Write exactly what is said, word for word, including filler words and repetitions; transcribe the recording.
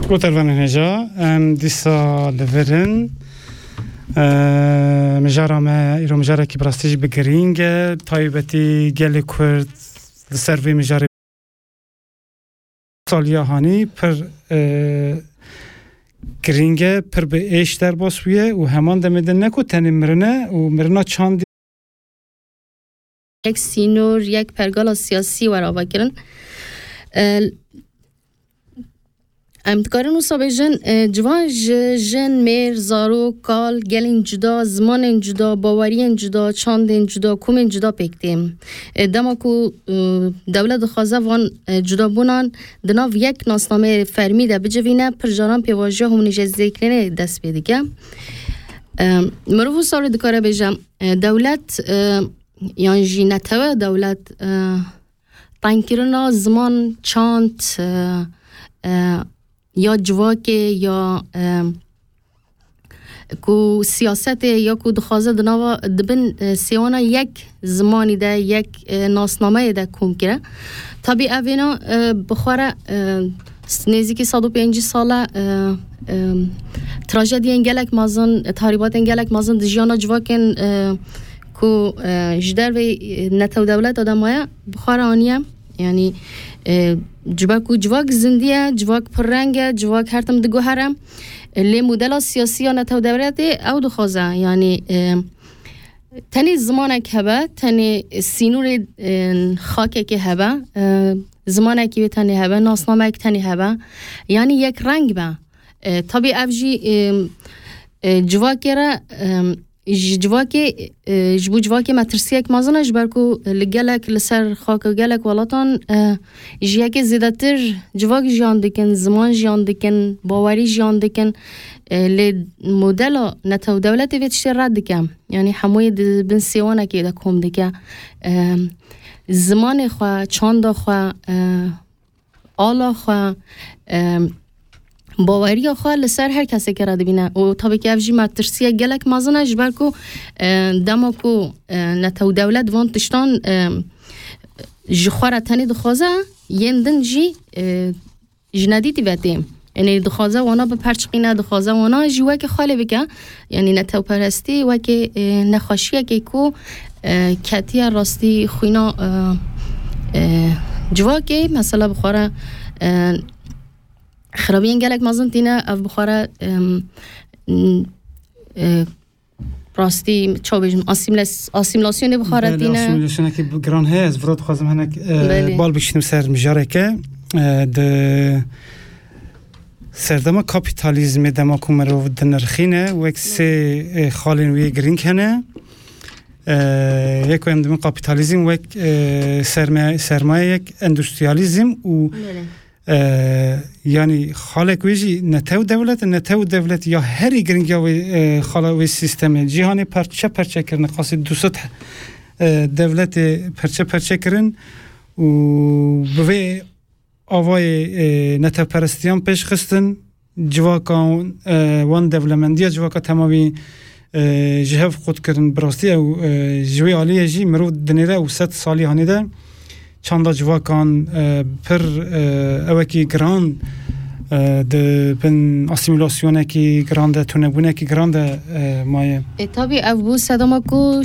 Gotervanên hêja, em dîsa li vir in. Eee, mijara me, îro mijarekî bi rastî jî bi girîng e, taybetî gelê Kurd li ser vê mijarê saliya hanî pir, eee, girîng e, pir bi êş derbas bûye û heman demê de ne ku tenê mirin e û mirina çandî. Yek sînor, yek pergala siyasî were avakirin. E, em dikarin wisa bêjin, e, ciwan ji jin, mêr, zarok, kal, gelên cuda, zimanên cuda, baweriyên cuda, çandên cuda, komên cuda pêk tê. E, dema ku, e, dewlet dixwaze van, e, cudabûnan di nav yek nasnameyê fermî de bicivîne, pir caran pêvajoya homojenizekirinê dest pê dike. E, mirov wisa dikare bêje, e, dewlet, e, yan jî netewe dewlet, e, tengkirina ziman, çand, e, e, ya civakê ya, e, ku siyasetê ya ku dixwaze di nava, di bin, e, sêwana yek zimanî de, yek, e, nasnameyê de kom kire. Tabî ev êna, e, bi xwe re, e, s-, nêzîkî sed û pêncî sal e, e, e, trajediyên gelek mezin, e, tahribatên gelek mezin di jiyana civakên, e, ku, e, ji dervê, e, netew dewleta de maye, bi xwe re aniye. Yanî, e, ji ber ku civak zindî ye, civak pirreng e, civak her tim diguhere. E, lê modela siyasî ya netew dewletê ew dixwaze. Yanî, e, tenê zimanek hebe, tenê sînorê, e, xakekê hebe, e, zimanekî wê tenê hebe, nasnamek tenê hebe. Yanî yek reng be. E, tabî ev jî, e, e, civakê re, e, ji civakê, e, ji bo civakê metirsiyek mezin e, ji ber ku li gelek, li ser xaka gelek welatan, e, ji yekê zêdetir civak jiyan dikin, ziman jiyan dikin, bawerî jiyan dikin. E, lê modela netew dewletê vê tiştê red dike. Yanî hemûyê di bin sêwanekê de kom dike. E, zimanê xwe, çanda xwe, e, ala xwe, e, baweriya xwe li ser her kesekê re dibîne. Û tabii ki ev jî metirsiyek gelek mezin e, ji ber ku, e, dema ku, e, netew dewlet van tiştan, e, ji xwe re tenê dixwaze, yên din jî, e, ji nedîtî ve tê. Yanî dixwaze wana biperçiqîne, dixwaze wana jî weke xwe lê bike. Yanî netewperestî wekî, e, nexweşiyekê ku, e, ketiye rastî xwîna, e, e, civakê, mesela bi xwe re, e, xirabiyên gelek mezin tîne, ev bi xwe re, e, n-, e, rastî, çawa bêjim, asîmles-, asîmlasyonê bi xwe re Belê, tîne. Asîmlasyonekî bi-, giran heye. Ez vira dixwazim hinek, e, Belê. bal bikişînim ser mijareke, e, di serdema kapîtalîzmê dema ku mirov dinirxîne, wek sê, e, xalên wê girîng hene. E, yek em dimin kapîtalîzm wek, e, serme-, sermayeyek endûstriyalîzm û Belê. E, yanî xalek wê jî netew dewlet, netew dewlet ya herî giring ya wê, e, xala wê sîstemê. Cîhanê parçe parçe kirin, qasî du sed, e, dewletê parçe parçe kirin û bi vê avayê, e, netewperestiyan pêş xistin. Civaka, e, wan dewlemendiya civaka temamî, e, ji hev qut kirin. Bi rastî ew, e, ji wê aliyê jî mirov dinêre ew sed salî hanê de çanda civakan, e, pir, e, ewekî giran, e, di bin asîmîlasyonekî giran de, tunebûnekî giran de, e, maye. E, tabî ev bû sedema ku